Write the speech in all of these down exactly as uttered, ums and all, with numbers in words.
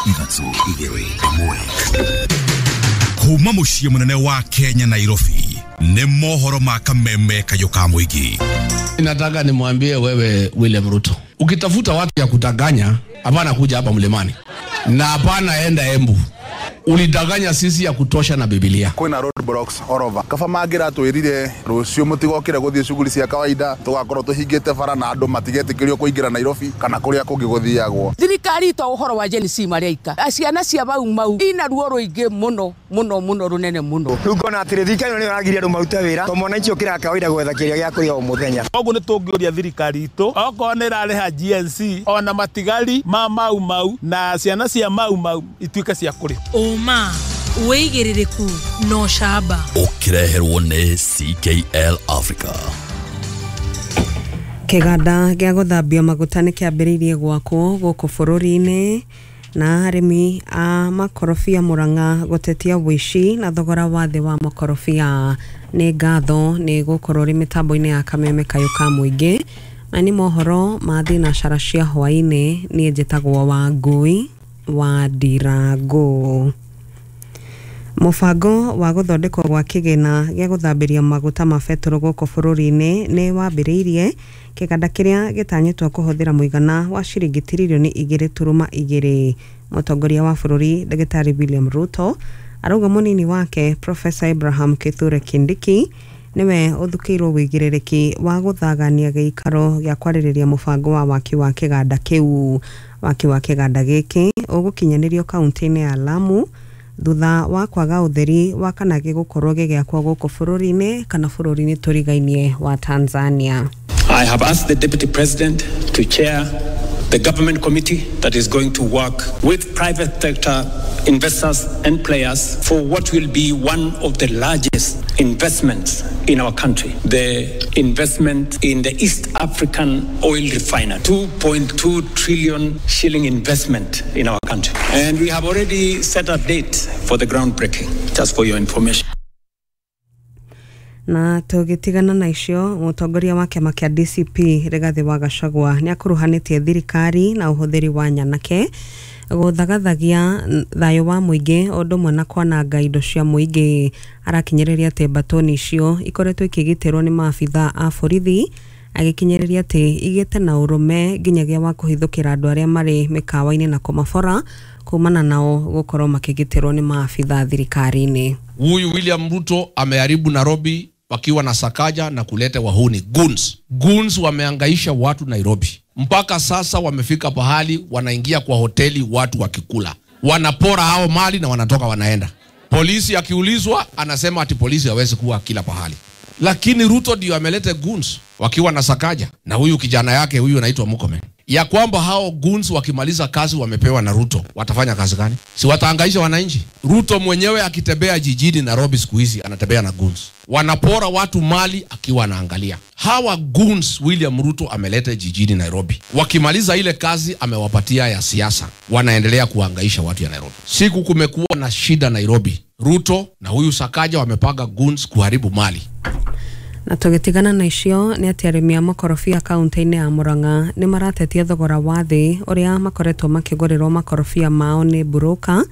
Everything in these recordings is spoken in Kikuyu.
Ithatũ, igĩrĩ, ĩmwe. Kuma mũciĩ mũnene wa Kenya, Nairobi, nĩ mohoro ma Kameme Kayũ ka Mũingĩ. Nataka nimwambie wewe William Ruto, ukitafuta watu ya kudanganya, hapana kuja hapa mlimani na hapana enda Embu. Ulidanganya sisi ya kutosha na Biblia. Kwina road blocks all over. Kaba mangiratwirire rucio mutigokire guthie shughuli cia kawaida, tugakorwo tuhingite bara na andu matigetikirio kuingira Nairobi kana kuria kungi guthiagwo. Thirikari to uhoro wa Gen Z mareika. Ciana cia Mau Mau ina ruo ruingi muno muno muno runene muno. Riu ngona atiri thirikari ĩno nĩyo ĩragiria andũ marute wĩra to mwananchi ũkĩraga kawaida gwetha kĩrĩa gĩa kũrĩa o mũthenya. Koguo nĩ tũngĩũria thirikari itũ okorwo nĩ ĩrarĩha G N Z ona matigari ma Mau Mau na ciana cia Mau Mau ituĩke cia kũrĩha. Ũma, wĩigĩrĩrĩku na ũcamba. Ũkĩreherwo nĩ C K L Africa. Kĩganda gĩa gũthambia maguta nĩ kĩambĩrĩirie gwakwo gũkũ bũrũri-inĩ, na arĩmi a makorobia Murang'a gũtetia ũici na thogora wa thĩ wa makorobia. Nĩ ngatho nĩ gũkorwo ũrĩ mĩtambo-inĩ ya Kameme Kayũ ka Mũingĩ, na nĩ mohoro ma thinacara cia hwaĩ-inĩ. Niĩ njĩtagwo Wangũi wa Ndirangũ. Mũbango wa gũthondekwo gwa kĩgĩna gĩa gũthambĩria maguta ma betũrũ gũkũ bũrũri-inĩ nĩ wambĩrĩirie, kĩganda kĩrĩa gĩtanyĩtwo kũhũthĩra mũigana wa ciringi tiririoni igĩrĩ turuma igĩrĩ. Mũtongoria wa bũrũri Ndagĩtarĩ William Ruto arauga mũnini wake Professor Abraham Kithure Kindiki nĩwe ũthukĩirwo wĩigĩrĩrĩki wa gũthagania gĩikaro gĩa kwarĩrĩria mũbango wa waki wa kĩganda kĩu. Waki wa kĩganda gĩkĩ ũgũkinyanĩrio kaunti-inĩ ya Lamu thutha wa kwaga ũtheri wa kana gĩgũkorwo gĩgĩakwo gũkũ bũrũri-inĩ kana bũrũri-inĩ tũrigainie wa Tanzania. I have asked the Deputy President to chair the government committee that is going to work with private sector investors and players for what will be one of the largest investments in our country, the investment in the East African oil refinery, two point two trillion shilling investment in our country. And we have already set a date for the groundbreaking, just for your information. Na tũgĩtigana na icio, mũtongoria wa kĩama kĩa D C P Rigathĩ wa Gachagua nĩ akuruhanĩtie thirikari na ũhũthĩri wa nyanake gũthagathagia thayũ wa mũingĩ o ũndũ ũmwe na kwananga indo cia mũingĩ. Arakinyĩrĩria atĩ mbatoni icio ikoretwo ikĩgitĩrwo nĩ maabitha a borithi, agĩkinyĩrĩria atĩ igĩte na ũrũme nginyagia wa kũhithũkĩra andũ arĩa marĩ mĩkawa-inĩ na kũmabora kumana nao gũkorwo makĩgitĩrwo nĩ maabitha thirikari-inĩ. Huyu William Ruto ameharibu Nairobi wakiwa na Sakaja na kuleta wahuni goons. Goons wameangaisha watu Nairobi mpaka sasa wamefika pahali wanaingia kwa hoteli watu wakikula, wanapora hao mali na wanatoka wanaenda. Polisi akiulizwa anasema ati polisi hawezi kuwa kila pahali, lakini Ruto ndio ameleta goons wakiwa na Sakaja na huyu kijana yake huyu anaitwa Murkomen, ya kwamba hao goons wakimaliza kazi wamepewa na Ruto watafanya kazi gani? Si wataangaisha wananchi? Ruto mwenyewe akitembea jijini Nairobi siku hizi anatembea na goons, wanapora watu mali akiwa anaangalia. Hawa goons William Ruto ameleta jijini Nairobi, wakimaliza ile kazi amewapatia ya siasa, wanaendelea kuhangaisha watu ya Nairobi. Siku kumekuwa na shida Nairobi, Ruto na huyu Sakaja wamepanga goons kuharibu mali. Na tũgĩtigana na icio nĩ atĩ arĩmi a makorobia kaunti-inĩ ya Murang'a nĩ maratetia thogora wa thĩ ũrĩa makoretwo makĩgũrĩrwo makorobia mao nĩ broker,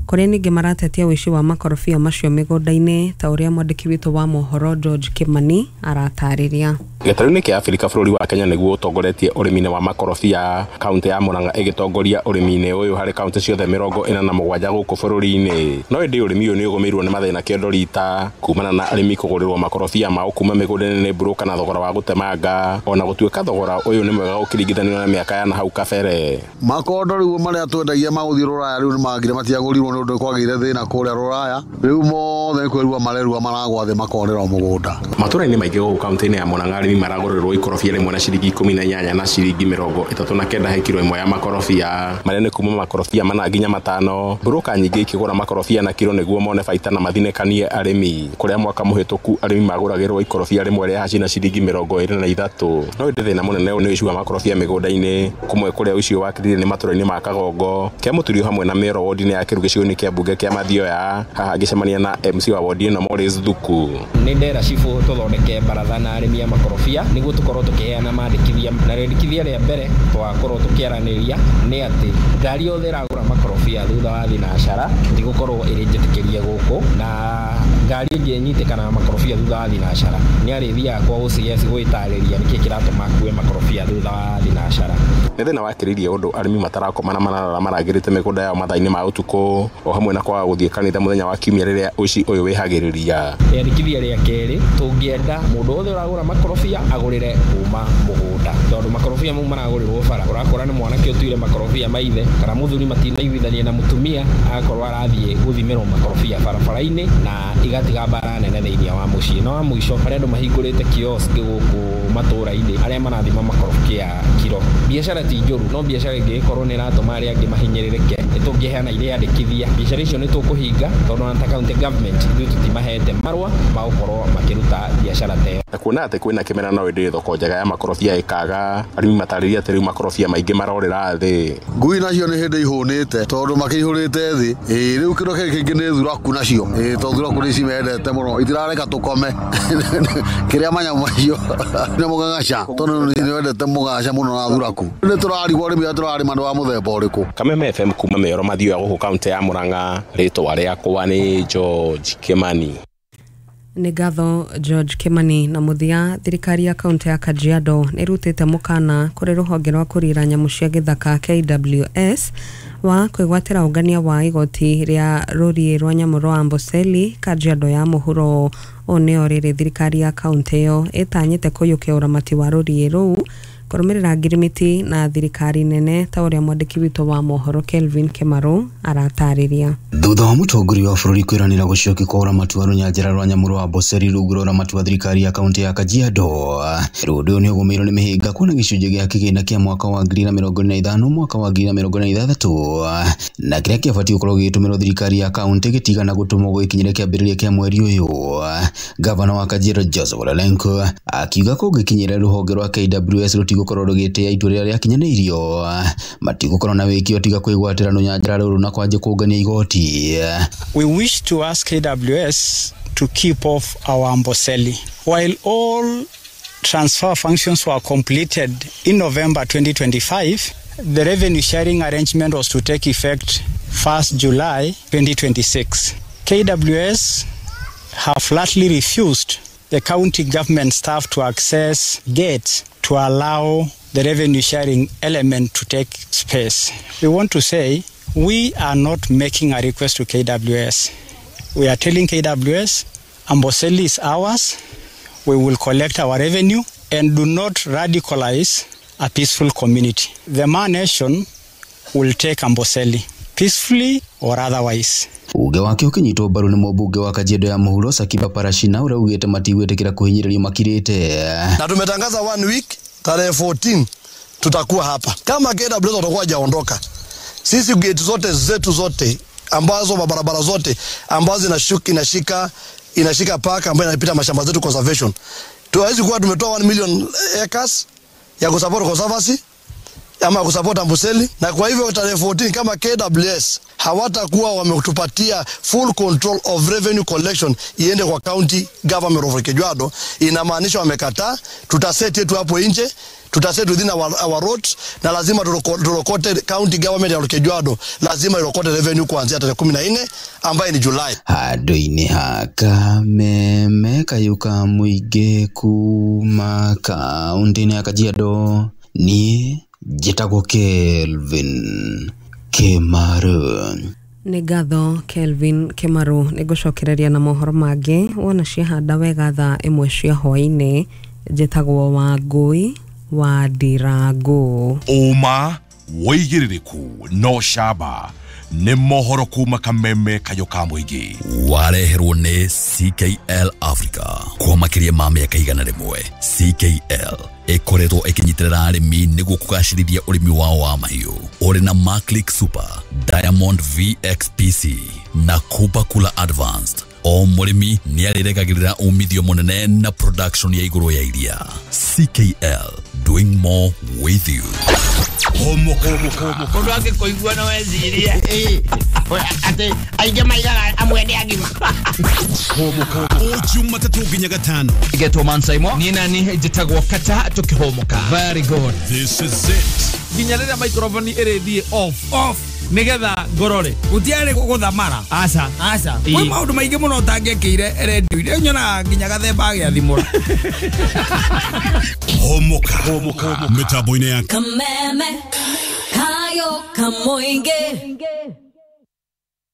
kũrĩa ningĩ maratetia ũici wa makorobia macio mĩgũnda-inĩ, ta ũrĩa mwandĩki witũ wa mohoro George Kimani aratarĩria. Gĩtarũ-inĩ kĩa Afrika, bũrũri wa Kenya nĩguo ũtongoretie ũrĩmi-inĩ wa makorobia, kaunti ya Murang'a ĩgĩtongoria ũrĩmi-inĩ ũyũ harĩ kaunti ciothe mĩrongo ĩna na mũgwanja gũkũ bũrũri-inĩ. No ĩndĩ ũrĩmi ũyũ nĩ ũgũmĩirwo nĩ mathĩna kĩondo rita kumana na arĩmi kũgũrĩrwo makorobia mao kuma mĩgũnda-inĩ nĩ broker na thogora wa gũtemanga, ona gũtuĩka thogora ũyũ nĩ mwega ũkĩringithanio na mĩaka ya na hau kabere. Makondo rĩu marĩa twendagia magũthiĩ Rũraya rĩu nĩ mangire matiagũrirwo nĩ ũndũ kwagĩire thĩna kũrĩa Rũraya. Rĩu mothe nĩ kwĩrua marerua maragwa thĩ makorĩra mũgũnda. Matũra-inĩ maingĩ gũkũ kaunti-inĩ ya Murang'a, arĩmi maragũrĩrwo ikorobia rĩmwe na ciringi ikũmi na inyanya na ciringi mĩrongo ĩtatũ na kenda he kiro ĩmwe ya makorobia, marĩa nĩ kuma makorobia mana nginya matano. Broker nyingĩ ikĩgũra makorobia na kiro nĩguo mone baita na mathinĩkanie arĩmi, kũrĩa mwaka mũhĩtũku arĩmi magũragĩrwo ikorobia rĩmwe rĩa haci na ciringi mĩrongo ĩrĩ na ithatũ. No ĩndĩ thĩna mũnene nĩ ũici wa makorobia mĩgũnda-inĩ, kũmwe kũrĩa ũici wakĩrire nĩ matũra-inĩ ma Kagongo, Kĩamũturio hamwe na Mĩoro wodi-inĩ ya Kĩru gĩcigo-inĩ. gĩcigo-inĩ kĩa mbunge kĩa Mathioya, haha agĩcemania na M C wa wodi ĩno Morris Thuku. Nĩ ndera cibũ tũthondeke baratha na arĩmi a makorobia nĩguo tũkorwo tũkĩheana mandĩkithia, na rĩandĩkithia rĩa mbere twakorwo tũkĩaranĩria nĩ atĩ ngari yothe ĩragũra makorobia thutha wa thinacara ndigũkorwo ĩrĩ njĩtĩkĩrie gũkũ, na ngari ĩngĩ ĩnyitĩkana na makorobia thutha wa thinacara nĩ arĩthiaga kwa O C S gwĩtarĩria nĩkĩ kĩratũma akue makorobia thutha wa thinacara. Nĩ thĩna wakĩrĩirie ũndũ arĩmi matarakoma na mararara marangĩrĩte mĩgũnda yao mathaa-inĩ ma ũtukũ, o hamwe na kwaga gũthiĩ kanitha mũthenya wa kiumia rĩrĩa ũici ũyũ wĩhagĩrĩria. Rĩandĩkithia rĩa kerĩ, tũngĩenda mũndũ wothe ũragũra makorobia agũrĩre kuma mũgũnda, tondũ makorobia mau maragũrĩrwo bara, ũrakora nĩ mwanake ũtuire makorobia maithe kana mũthuri matinaiguithania na mũtumia, agakorwo arathiĩ gũthimĩrwo makorobia barabara-inĩ na igatiga mbara nene thĩinĩ wa mũciĩ. Na wa mũico, harĩa andũ mahingũrĩte kiosk gũkũ matũũra-inĩ arĩa marathima makorobia kiro, biacara ti njũru, no biacara ĩngĩgĩkorwo nĩ ĩratũma arĩa angĩ mahinyĩrĩrĩke, nĩ tũngĩheana irĩandĩkithia biacara icio nĩ tũkũhinga, tondũ ona ta county government ithuĩ tũtimahete marũa ma gũkorwo makĩruta biacara ta ĩyo. Na kuona atĩ kwĩna kĩmera no ĩndĩ thoko njega ya makorobia ĩkaga, arĩmi matarĩria atĩ rĩu makorobia maingĩ marorĩra thĩ. Ngui nacio nĩ hĩndĩ ihũnĩte tondũ makĩihũrĩte thĩ, ĩĩ rĩu kĩndũ kĩngĩ kĩngĩ nĩ thuraku nacio, ĩĩ tondũ thuraku nĩ cimendete mũno, itirareka tũkome kĩrĩa manyamũ macio nĩ mũgagaca, tondũ nĩ wendete mũgagaca mũno na thuraku. Nĩ tũrarigwo arĩmi arĩa tũrarĩma nĩ wa mũthemba ũrĩkũ. Kameme F M kuma Mĩoro Mathioya gũkũ kaunti ya Murang'a, rĩtwa rĩakwa nĩ George Kimani. Nĩ ngatho George Kimani. Na mũthia, thirikari ya kaunti ya Kajiado nĩ ĩrutĩte mũkana kũrĩ rũhonge rwa kũrira nyamũ cia gĩthaka K W S wa kwĩgwatĩra ũngania wa igoti rĩa rũriĩ rwa nyamũ rwa Amboseli Kajiado ya mũhuro. Ũũ nĩo rĩrĩ thirikari ya kaunti ĩyo ĩtanyĩte kũiyũkia ũramati wa rũriĩ rũu kũrũmĩrĩra ngirimiti na thirikari nene, ta ũrĩa mwandĩki witũ wa mohoro Kelvin Kemaru aratarĩria. Thutha wa mũtongoria wa bũrũri kwĩranĩra gũcokia kwa ũramati wa rũnyanjara rwa nyamũ rwa Amboseli rungu rwa ũramati wa thirikari ya kaunti ya Kajiado, rĩu ũndũ ũyũ nĩ ũgũmĩirwo nĩ mĩhĩnga kuona gĩcunjĩ gĩa kĩgĩna kĩa mwaka wa ngiri na mĩrongo ĩna na ithano mwaka wa ngiri na mĩrongo ĩna na ithathatũ na kĩrĩa kĩabatiĩ gũkorwo gĩgĩtũmĩrwo thirikari ya kaunti gĩtigana gũtũmwo gũgĩkinyĩra kĩambĩrĩria kĩa mweri ũyũ. Gavana wa Kajiado Joseph Ole Lenku akiuga kũngĩkinyĩra rũhonge rwa K W S rũtigũkorwo rũgĩtĩĩa itua rĩrĩa rĩakinyanĩirio, matigũkorwo na wĩki tiga kwĩgwatĩra rũnyanjara rũrũ na kwanjia kũngania igoti. We wish to ask K W S to keep off our Amboseli. While all transfer functions were completed in November twenty twenty-five, the revenue sharing arrangement was to take effect first July twenty twenty-six. K W S have flatly refused the county government staff to access gates to allow the revenue sharing element to take space. We want to say we are not making a request to K W S. We are telling K W S, Amboseli is ours. We will collect our revenue and do not radicalize a peaceful community. The Ma Nation will take Amboseli peacefully or otherwise. Uge wake ũkĩnyitwo mbaru nĩ mũmbunge wa Kajiado ya mũhuro Sakiba Parashina ũrĩa ugĩte matigwĩtĩkĩra kũhinyĩrĩrio makirĩte. Na tumetangaza one week tarehe fourteen tutakuwa hapa. Kama K W S watakuwa hajaondoka, sisi gate zote zetu zote ambazo mabarabara zote ambazo inashuka inashika inashika park ambayo inapita mashamba zetu conservation, tuwezi kuwa tumetoa one million acres ya kusupport conservancy ama kusupport Amboseli. Na kwa hivyo tarehe fourteen kama K W S hawatakuwa wametupatia full control of revenue collection iende kwa county government of Kajiado, inamaanisha wamekataa. Tutaset yetu hapo nje, tutaset within our, our roads, na lazima turokote county government ya Kajiado, lazima irokote revenue kuanzia tarehe kumi na nne ambaye ni July. Handũ-inĩ ha Kameme kayuka mũingĩ kuma kaunti-inĩ ya Kajiado, niĩ njĩtagwo Kelvin Kemaru. Nĩ ngatho Kelvin Kemaru. Nĩ ngũcokereria na mohoro mangĩ wona ciahanda wega thaa ĩmwe cia hwaĩ-inĩ. Njĩtagwo Wangũi wa Ndirangu. Ũma wĩigĩrĩrĩku no camba nĩ mohoro kuma Kameme kayũ ka mũingĩ. Wareherwo nĩ C K L Africa kwa makĩria ma mĩaka igana rĩmwe. C K L ĩkoretwo ĩkĩnyitĩrĩra arĩmi nĩguo kũgacĩrithia ũrĩmi wao wa mahiũ. Ũrĩ na Maclick Super, Diamond V X P C na Kuba Kula Advanced. O mũrĩmi nĩ arĩregagĩrĩra umithio mũnene na production ya igũrũ ya iria. C K L, doing more with you. Hũmũka. Mũndũ angĩkũigua no ecirie atĩ aingĩ maigaga amwe nĩ agima. Hũmũka. O Jumatatũ nginya Gatano. Getwo Mansaimo. Niĩ nani njĩtagwo Kata tũkĩhũmũka. Very good. This is it. Nginya rĩrĩa microphone ĩrĩthiĩ off off nigetha ngorore gutiarĩ gũthamara. Aca. Aca, kwĩ maũndũ maingĩ mũno ũtangĩekĩire redio-inĩ, nyonaga nginya gathemba agĩathimũra. Hũmũka. Hũmũka. Mĩtambo-inĩ ya Kameme kayo kamoinge.